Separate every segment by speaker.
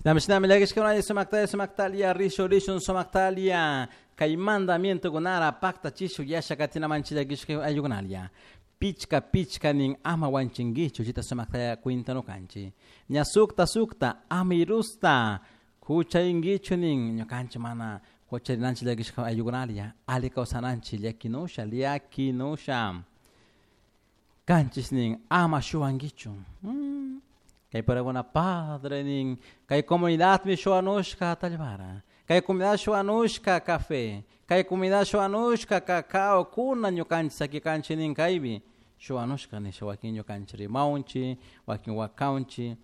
Speaker 1: Shinami llakishkuna sumaktalia sumaktalia rishu rishun sumaktalia kay mandamientokunara paktachishu yasha katinamanchik llakishka ayllukunalia. Pichka pichka nin ama wanchinkichu chita sumaktalia cuintanukanchik. Ña sukta sukta ama irusta huchayinkichu nin ñukanchik mana hucharinanchik llakishka ayllukunalia ali kawsananchik llakinusha llakinusha. Kanchis nin ama shuwankichu. Kay parakuna padre nin kay comunidadmi shuwanushka atallpara. Kay comunidad shuwanushka café. Kay comunidad shuwanushka cacao kuna ñukanchik sakikanchik nin kaypi shuwanushka nisha wakin ñukanchik rimawnchik wakin wakawnchik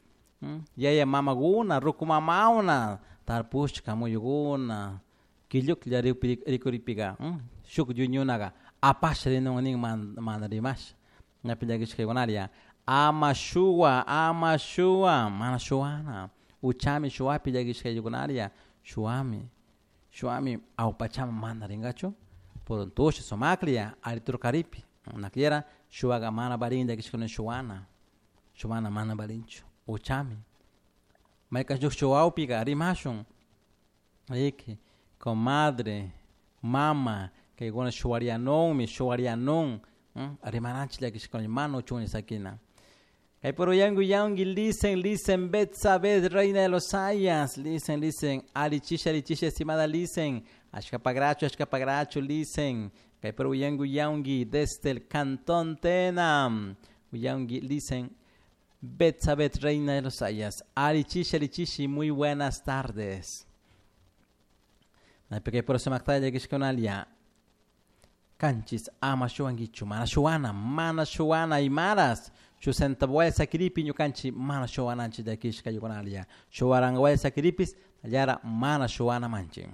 Speaker 1: yaya mamakuna ruku mamawna tarpushka muyukuna killuklla rikuripika shuk ñuñunaga apasha rinun nin mana rimasha ñapi llakishkaykunaria ama shuwa ama shuwa mana shuwana uchami shuwapi llakishkaykunaria shuwami shuwami awpachama mana rinkachu puruntusha sumaklla alli turkaripi nakllera shuwaga mana valin llakishkuna shuwana shuwana mana valinchu uchami maykan shuk shuwawpika rimashun riki comadre mama kaykuna shuwarianunmi shuwarianun rimananchik llakishkuna mana uchuni sakina. Kay por uyangu yangi listen listen Betsabé reina de los sayas listen listen alichisha alichisha estimada listen ashkapagracho ashkapagracho listen kay por uyangu yangi desde el cantón Tenam uyangi listen Betsabé reina de los sayas alichisha alichishi muy buenas tardes. Kay por sumaktalla llakishkunalia kanchis ama shuwankichu mana shuwana mana shuwana imaras shu centavo sakiripi ñukanchik mana shuwananchik llakishka ayllukunalia shuwaranka sakiripis allara mana shuwana manchik.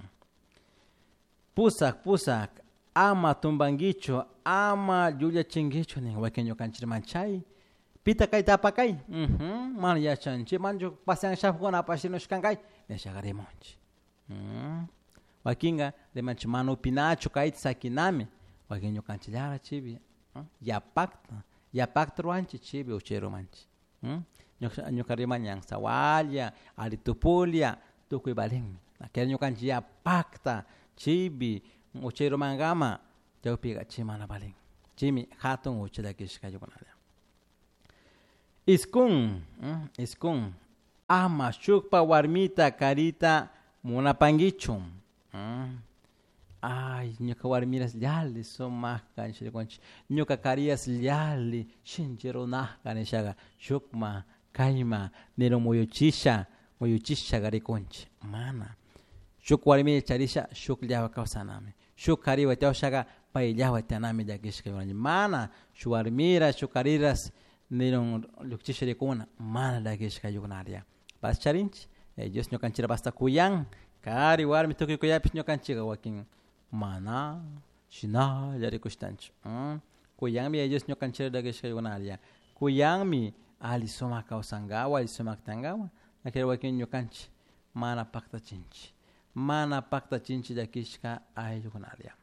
Speaker 1: Pusak pusak ama tumpankichu ama llullachinkichu nin wakin ñukanchik chay pita kayta apakay mana yachanchik manchu pasian shafkuna apashinushkankay nishaga rimanchik. Wakinka rimanchik mana upinachu kayta sakinami wakin ñukanchikllara chipi yapakta yapakta ruwanchik chipi uchay rumanchik. Ñuka rimani sawalla ali tupulla tukuy valinmi ñukanchik yapakta chipi uchay rumankama chaypika chay mana valin chaymi hatun ucha llakishka ayllukunalla. Iskun iskun ama shukpa warmita karita munapankichu. Ay ñuka warmiras llalli sumakka nisha rikunchik ñuka karias llalli shinchi runaka nishaga shukma kayma nirun muyuchisha muyuchishaga rikunchik mana shuk warmita charisha shukllawan kawsanami shuk kariwan tiyawshaga payllawan tiyanami llakishka mana shuk warmira shuk kariras nirun llukchisha rikuna mana llakishka ayllukunaria bas charinchik Dios ñukanchikta basta kuyan kari warmi tukuy kuyapish ñukanchika wakin mana shinalla rikushtanchik kuyanmi Dios ñukanchikta llakishka ayllukunaria kuyanmi alli sumak kawsankawan alli sumak tiyankawan wakin ñukanchik mana paktachinchik mana paktachinchik llakishka ayllukunaria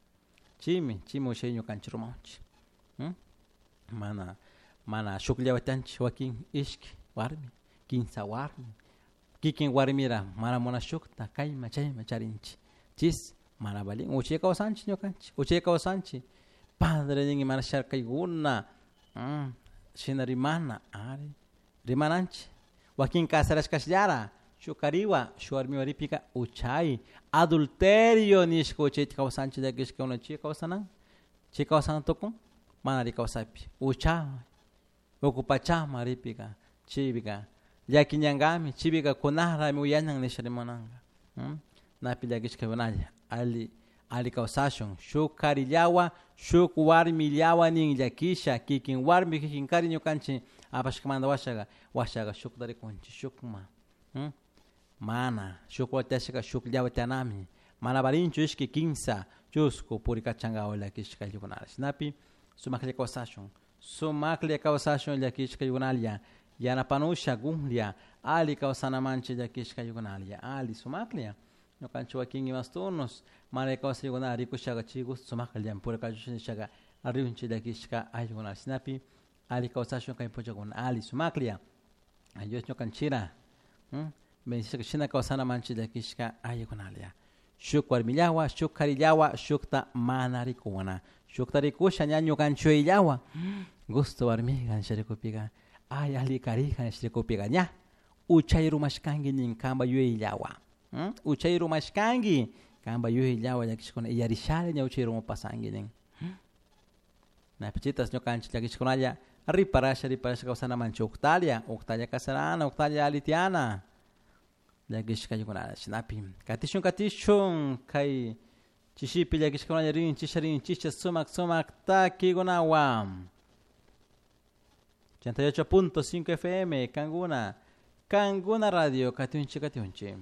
Speaker 1: chaymi chaymi ushay ñukanchik rumawanchik mana mana shukllawan tiyanchik wakin ishki warmi kinsa warmi kikin warmira mana munashukta kayma chayma charinchik chis mana valin uchilla kawsanchik ñukanchik uchilla kawsanchik padre nin mana sharkaykuna shina rimana ari rimananchik wakin casarashkashllara shuk kariwan shuk warmiwan ripika uchay adulterio nishka uchayta kawsanchik llakishkakuna chay kawsanan chay kawsana tukun mana ari kawsaypi ucha ukupachama ripika chaypika llakiñankami chaypika kunarami uyanan nisha rimananka napi llakishkakunalla alli alli kawsashun shuk karillawan shuk warmillawan nin llakisha kikin warmi kikin kari ñukanchik apashkamanta washaga washaga shukta rikunchik shukma mana shuk tiyashaka shukllawan tiyanami mana valinchu ishki kinsa chusku purikachankawan llakishka ayllukunala shinapi sumaklla kawsashun sumaklla kawsashun llakishka ayllukunalla yanapanusha kunlla alli kawsanamanchik llakishka ayllukunalla alli sumaklla ñukanchik wakin imasturnos mana kawsaykunata rikushaga chay gusto sumaklla purikachun nishaga rinchik llakishka ayllukunala shinapi alli kawsashun kay punllakuna alli sumaklla Dios ñukanchikra. Bendicishka shina kawsana manchi llakishka ayikunalla. Shuk warmillawa, shuk karillawa, shukta mana rikuna. Shukta rikusha ña ñukanchuyllawa. Gusto warmiga nisha ay ali karija nisha rikupika ña. Uchay rumashkanki nin kamba yuyayllawa. Uchay rumashkanki kamba yuyayllawa llakishkuna yarishalla ña uchay rumu pasanki nin. Napichitas ñukanchik llakishkunalla riparasha riparasha kawsana manchi uktalla, uktalla kasarana, uktalla alitiana. Llakishka shinapi katishun katishun kay chishipi llakishkunalla rinchik rinchik sumak sumak takikunawan. 88.5 FM, Kanguna, Kanguna Radio, katiunchi katiunchi.